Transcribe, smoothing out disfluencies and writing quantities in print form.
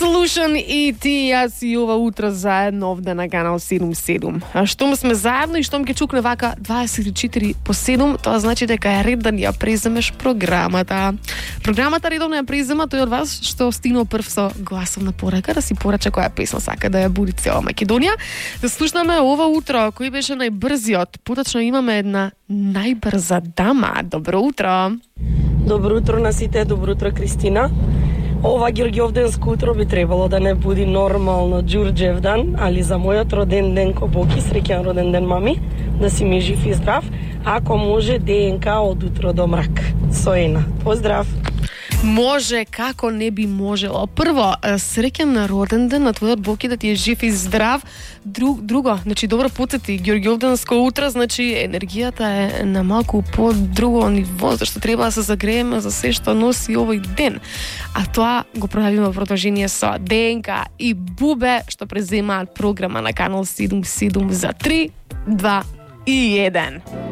Слушан и ти, јас и ова утро заедно овде на канал 77. А штом сме заедно и штом ќе чукне вака 24/7, тоа значи дека е ред да ни ја преземеш програмата. Програмата редовно ја презема тој од вас што стигнал прв со гласовна порака да си порача која песна сака да ја буди цела Македонија. Да слушнаме ова утро кој беше најбрзиот. Поточно имаме една најбрза дама. Добро утро. Добро утро на сите, добро утро Кристина. Ова Ѓорѓовденско утро би требало да не буди нормално Ѓурџевдан, али за мојот роден ден ко Боки, среќен роден ден мами, да си ми жив и здрав, ако може ДНК од утро до мрак. Соена. Поздрав. Може, како не би можело. Прво, среќен на роден ден на твојот Боки, да ти е жив и здрав. Друго, значи добро потсети, Ѓорѓовденско утро, значи енергијата е на малку по друго ниво, зашто треба да се загрееме за се што носи овој ден. А тоа го правиме во продолжение со ДНК и Бубе, што преземаат програма на канал 77 за 3, 2 и 1.